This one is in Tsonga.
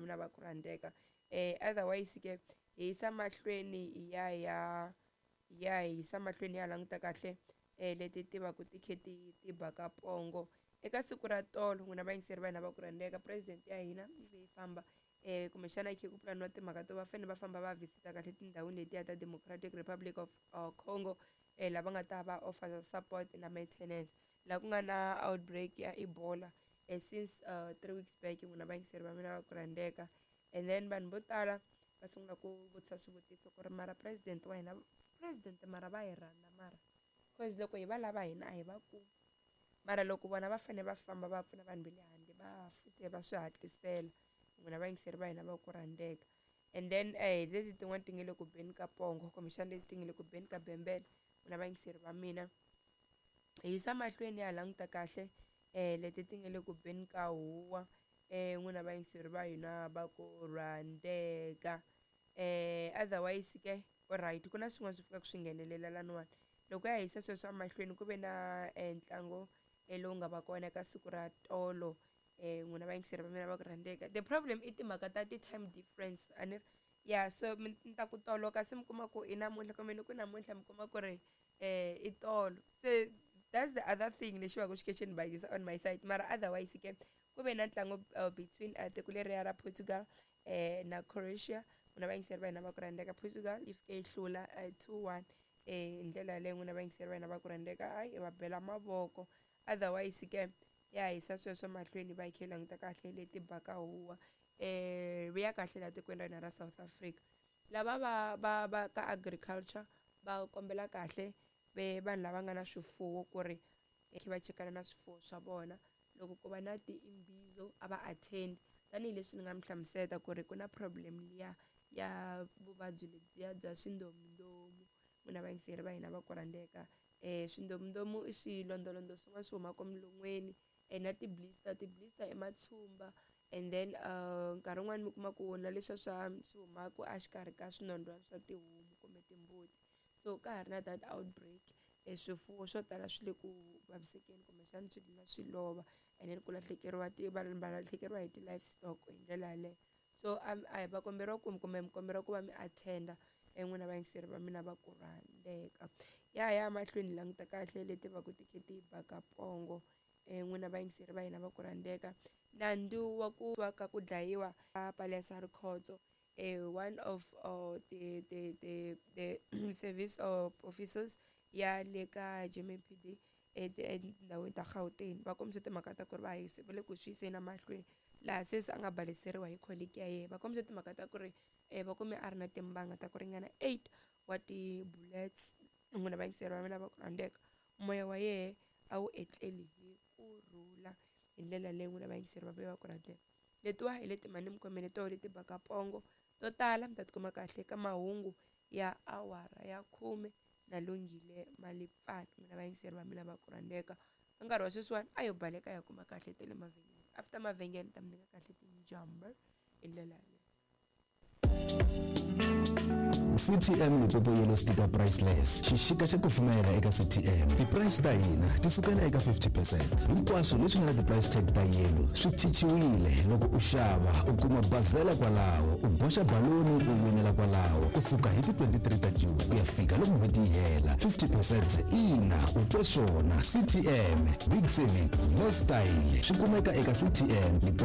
Mina va ku rhandzeka. Otherwise ke hi yisa mahlweni hi ya hi ya ya hi yisa mahlweni ya languta kahle leti ti va ku ti khe ti ti ba ka pongo eka siku ra tolo. N'wina vayingiseri va hina va ku rhandzeka, president ya hina yi ve yi famba, kumbexana yi khe ku pulaniwa timhaka to va fanele va famba va visita kahle tindhawini letiya ta Democratic Republic of Congo, lava nga ta va offer support na maintenance laha ku nga na outbreak ya Ebola since 3 weeks back. N'wina vayingiseri va mina va ku rhandzeka, and then vanhu vo tala va sungula ku vutisa swivutiso ku ri mara president wa hina, president mara va hi rhandza mara, cause loko hi va lava hina a hi va kumi, mara loko vona va fanele va famba va pfuna vanhu va le handle, va futhi va swi hatlisela. N'wina vayingiseri va hina va ku rhandzeka, and then hi leti tin'wana ti nga le ku beni ka pongo, kumbexana leti ti nga le ku beni ka bembele. N'wina vayingiseri va mina, hi yisa mahlweni ya ha languta kahle leti ti nga le ku beni ka huwa. N'wina vayingiseri va hina va ku rhandzeka, otherwise ke alright, ku na swin'wana swi fikaka swi nghenelela laniwani. Loko ya hisa sweswo emahlweni, ku ve na ntlangu lowu nga va kona eka siku ra tolo. N'wina vayingiseri va mina va ku rhandzeka, the problem i timhaka ta ti-time difference, a ni ri ya? So mi ta ku tolo kasi mi kuma ku i namuntlha, kumbe ni ku namuntlha mi kuma ku ri i tolo. So that's the other thing lexi va ku xi khe xi ni bayizisa on my side. Mara otherwise ke ku ve na ntlangu between tiko leriya ra Portugal na Croatia. N'wina vayingiseri va hina va ku rhandzeka, Portugal yi fike yi hlula 2-1 hi ndlela yaleyo. N'wina vayingiseri va hina va ku rhandzeka, hayi, va bela mavoko. Otherwise ke ya hisa sweswo mahlweni, va yi khe yi languta kahle leti baka huwa vuya kahle laha tikweni ra hina ra South Africa. Lava va ka agriculture va kombela kahle ve vanhu lava nga na swifuwo ku ri khe va chekana na swifuwo swa vona. Loko ku va na ti-imbizo, a va attend, tanihileswi ni nga mi hlamusela ku ri ku na problem liya ya vuvabyi lebyiya bya swindomundomu. N'wina vayingiseri va hina va ku rhandzeka, swindomundomu i swilondolondo swin'wana swi humaka milon'weni, na ti-blister. Ti-blister i matshumba, and then nkarhi wun'wani mi kuma ku na leswiya swa swi humaka exikarhi ka swinondwani swa tihomu kumbe timbuti. So ka ha ri na that outbreak, swifuwo swo tala swi le ku vavisekeni, kumbexana swi dlina swi lova, and then ku lahlekeriwa ti vanhu va lahlekeriwa hi ti-livestock hi ndlela yaleyo. So a hi va komberiwa ku kumbe mi komberiwa ku va mi attend-a. N'wina vayingiseri va mina va ku rhandzeka, ya ya mahlweni hi languta kahle leti va ku ti khe ti baka pongo. N'wina vayingiseri va hina va ku rhandzeka, nandzu wa ku wa ka ku dlayiwa ka Palesa Rikhotso, one of the service of officers ya le ka JMPD etindhawini ta Gauteng, va kombise timhaka ta ku ri va yise va le ku swi yiseni emahlweni laha se a nga baleseriwa hi colleague ya yena. Va kombise timhaka ta ku ri va kume a ri na timbanga ta ku ringana 8 wa ti-bullets. N'wina vayingiseri va mina va ku rhandzeka, moya wa yehe a wu etleli hi kurhula hi ndlela leyi. N'wina vayingiseri va mina va ku rhandzeka, letiwa hi leti mani mi khomele toho leti baka pongo. To tala mi ta tikuma kahle ka mahungu ya awara ya 10 na Lunghile Malipfani. N'wina vayingiseri va mina va ku rhandzeka, ka nkarhi wa sweswiwani a yo baleka ya kuma kahle ta le mavhengeleni. After mavhengele ta mi nyika kahle tinjamber hi ndlela yaleyo. CTM Limpopo Yellow Sticker Priceless, xixika xa kufumela eka CTM. Ti-price ta hina ti sukela eka 50%. Hinkwaswo leswi nga na ti-price tag ta yellow swi cinciwile. Loko u xava, u kuma bazela kwalaho, u boxa baloni, u winela kwalaho. Kusuka hi ti-23 ta June ku ya fika loko n'hweti yi hela, 50%. Ina, u twe swona. CTM, big saving, no style. Swi kumeka eka CTM Limpopo.